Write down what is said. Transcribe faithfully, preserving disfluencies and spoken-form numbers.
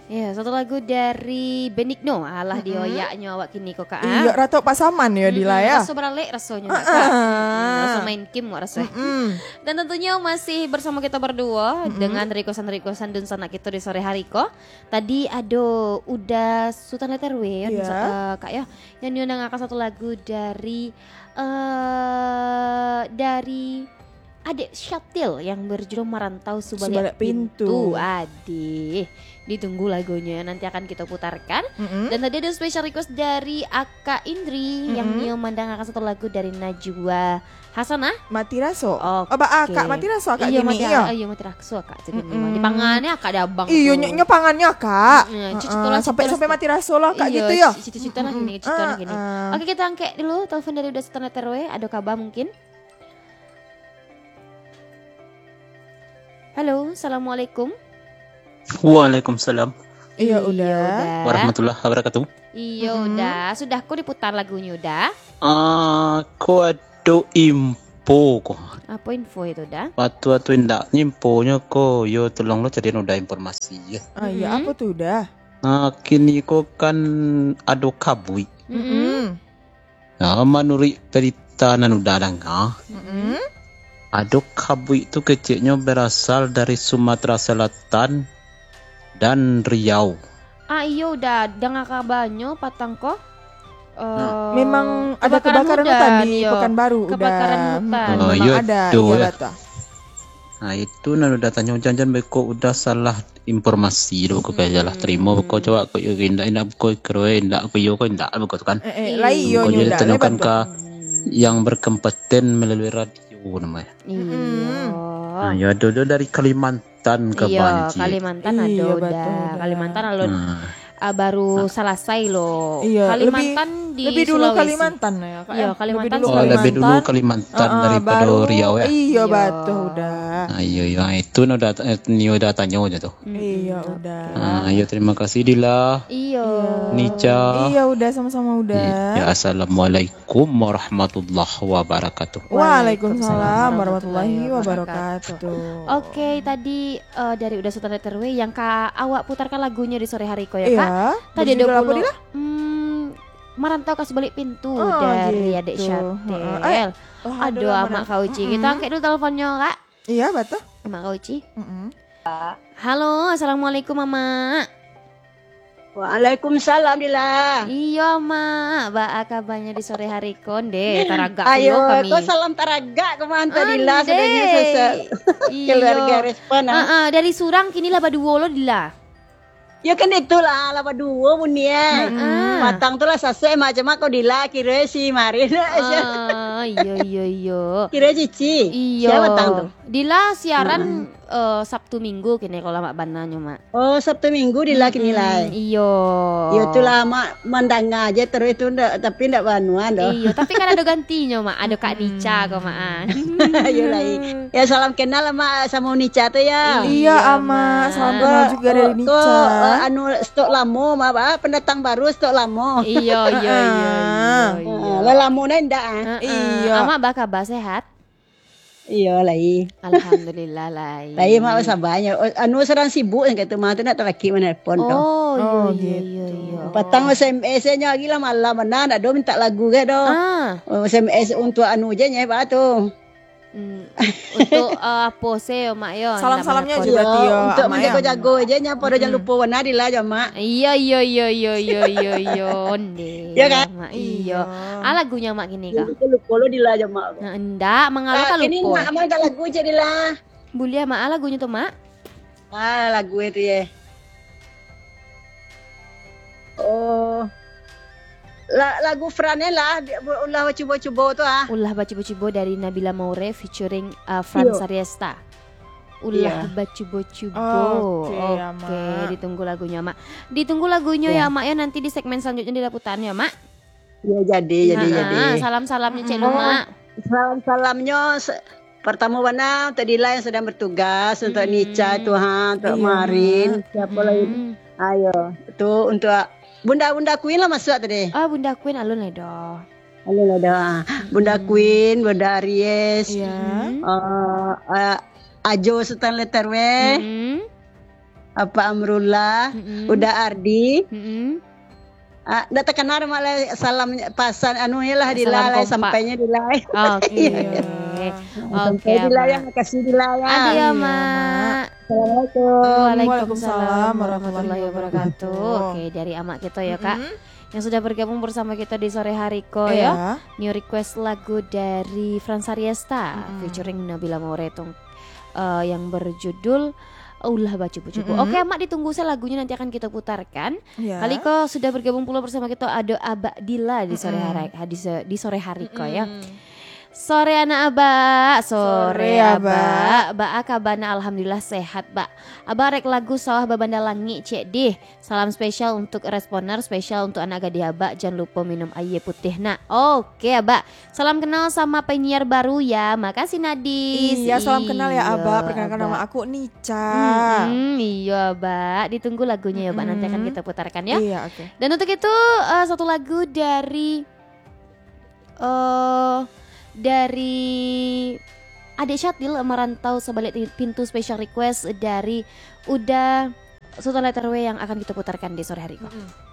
Ya, satu lagu dari Benigno. Alah, Mm-mm. dioyaknyo awak kini ko, Kak, ah. Iyo, Ratu Pasaman yo, Dila, Mm-mm, ya? Raso baralek rasonyo, Kak. Heeh. Mm, raso main kim wak raso. Mm-mm. Dan tentunyo masih bersamo kito berdua Mm-mm. dengan requestan-requestan dunsanak kito di sore hari ko. Tadi ado Uda Sutan Letter W, Iya. eh, Kak, ya. Yang nio mandangakan satu lagu dari, eh, dari Adek Syatil yang berjudul Merantau Subaliak Subaliak Pintu. Pintu. Adih. Ditunggu lagunyo yang nanti akan kita putarkan. Mm-mm. Dan tadi ada special request dari Akak Indri yang Mm-mm. nio mandangakan satu lagu dari Najwa Hasanah. Mati Raso. Oke. Oh, ba-, Akak Mati Raso, Akak Iyo, gini, mati, iyo. Iyo, Mati Raso, Akak, tu gini. Mm-mm. Di pangannya Akak ada abang Iyo, tu. nyo, nyo pangannya, Akak. Mm-mm, Heeh, cito-cito lah, sampai, cito-cito sampai lah. Mati Raso lah, Akak, Iyo, gitu, yo. ci-, cito-cito lah gini, Mm-mm. cito lah gini. Heeh. Oke, kita angkat dulu telepon dari Uda Sutan Letter W. Ada kabar mungkin? Halo, assalamualaikum. Waalaikumsalam. Iyo, Iyo, Uda. Uda. Warahmatullahi wabarakatuh. Iyo, Mm-mm. Uda. Sudah ko diputar lagunyo, Uda? Ah, ko ado info ko. Apo info itu, Uda? Atu-atu indak, info nyo ko, yo tolong lo carian Uda informasi, yo. Ah, iyo, Mm-mm. apo tu, Uda? Ah, kini ko kan ado kabuik. Mm-mm. Mm-mm. Nah, manuruik berita nan Uda danga, Mm-mm. ado kabuik tu keceknyo berasal dari Sumatera Selatan dan Riau. Ah, iyo, Uda, danga kabanyo patang ko. Nah. Eh, Memang ada kebakaran kebakaran hutan hutan, di iyo. Pekanbaru, Uda. Kebakaran hutan. Oh, Memang iyo ada, tu, iyo, ya. Bata. Nah, itu nan Uda tanyo, jan-jan beko Uda salah informasi tu, beko kaya salah tarimo, beko cowok ko iyo, indak, indak beko kiro, indak ko iyo, ko indak beko tu kan. Eh, eh, lai iyo Beko nyo jadi udah, tanyokan lai ka yang berkompeten melalui radio namanya. Iyo. Mm-mm. Nah, yo ado, ado dari Kalimantan ka Iyo, banjir. Kalimantan ado Iyo, udah. Batul, udah. Kalimantan alun, Nah. ah, baru Nah. salasai lo. Iyo, Kalimantan lebih, di lebih dulu Sulawesi. Kalimantan ya, Kak, Iyo, ya? Kalimantan, Lebih dulu Oh, lebih dulu Kalimantan. Kalimantan Ah, ah, daripada baru, Riau, ya? Iyo, Iyo. batul, udah. Nah, iyo, iyo. Ah, itu nah udah, eh, ni udah tanyo aja tu. Mm-mm. Iyo, Oke. udah. Ah, iyo, terima kasih, Dila. Iyo. Iyo. Nica. Iyo, udah, sama-sama, udah. Iya, assalamualaikum warahmatullahi wabarakatuh. Waalaikumsalam Waalaikumsalam warahmatullahi warahmatullahi wabarakatuh. wabarakatuh. Oke, tadi, eh, dari Uda Sutan Letter W yang ka awak putarkan lagunyo di sore hari ko, ya, Iya. Kak? Tadi Berjudul ada apo, pulo, Dila? hmm, Merantau ka Subaliak Pintu Oh, dari gitu. Adek Syatel. Heeh. Eh, oh, Aduh, alhamdulillah, Amak mana? Kak Uci. Kita Mm-mm. angkat dulu teleponnya, Kak. Iya, betul. Amak Kak Uci. Mm-mm. Halo, assalamualaikum, Amak. Waalaikumsalam, Dila. Iyo, Mak. Baa kabanyo di sore hari ko, ndeh? Taragak Ayo, pulo kami. Ko salam taragak ka mah, Dila, Andeh. Sadonyo sese-, Iyo. keluarga respon, ah. Ah, ah, dari surang kini lah baduo lo, Dila. Yo kan itulah, lah baduo bunyi, eh. Mm-mm. Patang tu lah sasek macam ko Dila, kiro si Marin. Ah, iyo, iyo, iyo. Kiro Cici. Iyo. Sia patang tu? Dila siaran, Mm-mm. eh, Sabtu Minggu kini kalau Mak bananyo, Mak. Oh, Sabtu Minggu Dila kini Mm-mm, lai. Iyo. Yo, itulah, Mak mandanga aja terus tu, ndak, tapi ndak banuan doh. Iyo, tapi kan ado gantinyo, Mak. Ado Kak Mm-mm. Nica ko, Mak, ah. Yo lai. Ya, salam kenal lah, Mak, samo Nica tu ya. Iyo, Iyo, Amak. Mak. Salam kenal Ko, juga dari ko, Nica. Eh, anu, stok lamo, Mak, ah, pendatang baru stok lamo. Iyo, iyo, iyo, iyo, Ah. iyo. Ah, lah lamo dah indak, ah. Ah, ah. Iyo. Amak baa kabar, sehat? Iyo, lai. Alhamdulillah, lai. Lai, Mak, sabanyo. Oh, anu, sadang sibuk, yang kata Mak tu nak talaki manelpon tu. Oh, iyo, Oh, iyo, gitu. iyo, iyo. Patang S M S nyo lagi lah malam, mana ndak do minta lagu ke do. Ah. Oh, S M S untuk anu je nyo, Mak, tu. Hmm, untuk, eh, apo se yo, Mak, yo, Salam-salamnya ndak juga. Iyo, berarti yo, untuk Amak, ya? Menjago-jago je nya, pado jan Mm-mm. lupo warna Dila jo, Mak. Iyo, iyo, iyo, iyo, iyo, iyo, iyo, onde, Ya, kan? Mak, iyo. Iyo. Ah, lagunyo, Mak, kini kah? Jangan lupo lo Dila jo, Mak. Nah, ndak, mangalo Ah, ka kini lupo. Mak, Mak, lagu je, Dila. Buliah, Mak, ah, lagunyo tu, Mak? Ah, lagu itu, ye. Oh. La-, lagu Fran lah, di-, Ulah Bacubo-cubo tu, ah. Ulah Bacubo-cubo dari Nabila Maure featuring, uh, Fran Iyo. Sariesta. Ulah Iyo. Bacubo-cubo. Oke, Oke, Amak. Ditunggu lagunyo, Mak. Ditunggu lagunyo Iyo. ya, Mak, ya, nanti di segmen selanjutnya dilaputannya, Mak. Iyo, jadi, jadi, Ha-ha, jadi. Salam-salamnya, Cik Mm-mm. Luma. Salam-salamnyo se-, pertama bana untuk Dila yang sedang bertugas, untuk Mm-mm. Nica, Tuhan, untuk Iyo, Marin, Mak. siapa lagi? Mm-mm. Ayo, tu untuk Bunda-Bunda Queen lah masuk tadi. Ah, Bunda Queen alun lai doh. Alun lai doh. Bunda Mm-mm. Queen, Bunda Aries, Iya. Mm-mm. eh, eh, Ajo Sultan Letter W. Mm-mm. Apa Amrullah, Mm-mm. Uda Ardi. Mm-mm. Ah, ndak takana, Mak, lai, salam pasan, anu, iyalah, di Salam lai, kompak. Sampainya di lai. Oke. Iya, iya. Oke, sampai di lai, Amak. Makasih di lai. Adio, Iya, Mak. Mak. Assalamualaikum. Waalaikumsalam Waalaikumsalam warahmatullahi warahmatullahi wabarakatuh. wabarakatuh. Oke, dari Amak kita ya, Kak. Mm-mm. Yang sudah bergabung bersama kita di sore hari ko, Iya. ya. New request lagu dari Frans Ariesta Mm-mm. featuring Nabila Mauretung, eh, yang berjudul Ulah Bacupu-cupu. Mm-mm. Oke, Mak, ditunggu saja lagunya, nanti akan kita putarkan. Ya. Kali ko sudah bergabung pula bersama kita, ada Abak Dila di sore Mm-mm. hari, ha, di se-, di sore hari ko, ya. Mm-mm. Sore anak Abak, sore, Sore, Abak. Abak. Baa kabana? Alhamdulillah sehat, Bak. Abak rek lagu Sawah Babanda Langik, cek dih. Salam spesial untuk Responer, spesial untuk anak gadih Abak, jan lupo minum aia putih, nak. Oke, Abak. Salam kenal sama penyiar baru ya. Makasih, Nadis. Iya, salam kenal ya, Abak. Iyo, Perkenalkan, Abak. Nama aku Nica. Mm-mm, iyo, Abak. Ditunggu lagunya ya, Abak. Nanti akan Mm-mm. kita putarkan ya. Iya, oke. Dan untuk itu, eh, satu lagu dari, eh, dari Adik Syatil, Merantau Sebalik Pintu, special request dari Uda Sultan Letter W yang akan kita putarkan di sore hari ko. Mm-mm.